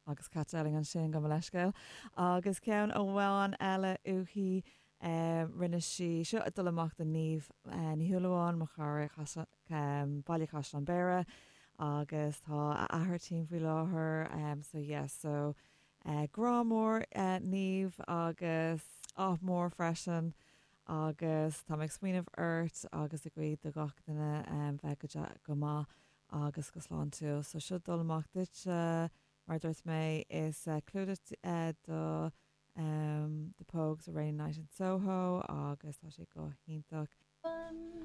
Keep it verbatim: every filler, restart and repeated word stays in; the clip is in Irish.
Agus Kat Dowling ansin gabh mo leithscéal. Agus ceann amháin eile uaithi um, rinne sí seo ag dul amach do Niamh uh, Ní Shúilleabháin mo chara um, Baile Caisleán Béire agus tá a athair tinn faoi láthair um, so yes, so uh, grá mór uh, Niamh agus ádh mór freisin agus tá ag smaoineamh ort agus ag guí do gach duine um, bheith go, go maith agus go sláintiúil. So seo dul amach duit uh, mar dúirt mé is uh, clúdach uh, do um, the Pogues a Rainy Night in Soho agus tá sé go hiontach.